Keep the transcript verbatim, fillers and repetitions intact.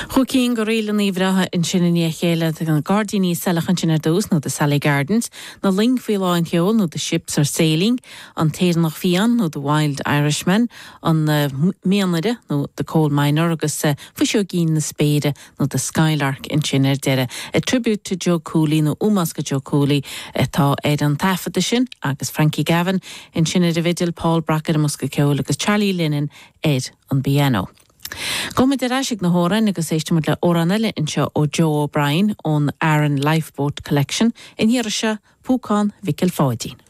Chúig cinn de ríleanna breátha ansin i ndiaidh a chéile na Gairdíní Saileach ansin ar dtús nó the Sally Gardens, na Loing faoi lán tseoil nó the Ships are Sailing, an tÉireannach Fiáin nó the Wild Irishman, an uh, Mianaire nó the Coal Miner agus uh, Fuiseoigín na Spéire nó the Skylark ansin ar deireadh. A tribute to Joe Cooley nó ómós do Joe Cooley atá ar an taifeadadh sin agus Frankie Gavin ansin ar an bhfidil Paul Brock ar an mbosca ceoil agus Charlie Lennon ar an bpianó. Gabhfaimid ar ais ag na hamhráin agus éistfimid le hamhrán eile anseo ó Joe O'Brien ón Aran Lifeboat Collection in hiar se Púcán Mhicil Pháidín.